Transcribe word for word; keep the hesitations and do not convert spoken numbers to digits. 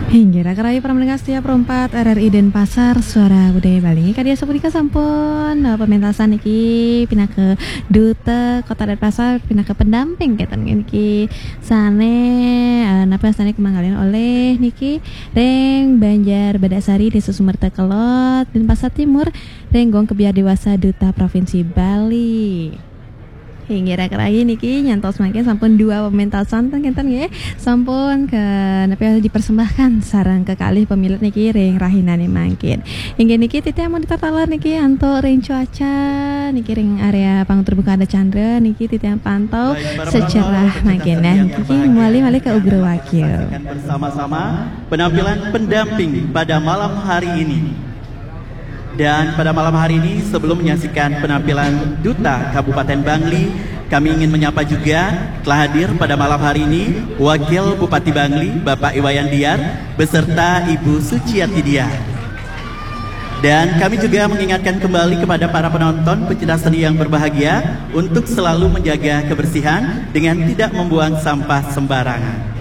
Inggih, raka rahayu para pendengar setia Pro empat R R I Denpasar, Suara Budaya Bali. Inggih, kadi sapunika sampun, eh, pementasan niki pinaka duta Kota Denpasar, pinaka pendamping kenten niki sane, eh, napa sane kumanggalin olih niki ring Banjar Badasari, Desa Sumerta Kelod, Denpasar Timur, ring Gong Kebyar Dewasa Duta Provinsi Bali. Inggih, raka rahayu niki nyantos mangkin sampun dua pementasan ten kenten nggih. Sampun ke nepi dipersembahkan sareng kekalih pemilet niki ring rahinane mangkin. Inggih niki titiang monitor taler niki antuk ring cuaca niki ring area panggung terbuka Anda Chandra niki titiang pantau secerah mangkin niki malih-malih ke Ugra Wakil. Saksikan bersama-sama penampilan pendamping pada malam hari ini. Dan pada malam hari ini, sebelum menyaksikan penampilan Duta Kabupaten Bangli, kami ingin menyapa juga telah hadir pada malam hari ini Wakil Bupati Bangli, Bapak Iwayan Diar, beserta Ibu Suciati Diar. Dan kami juga mengingatkan kembali kepada para penonton, pecinta seni yang berbahagia, untuk selalu menjaga kebersihan dengan tidak membuang sampah sembarangan.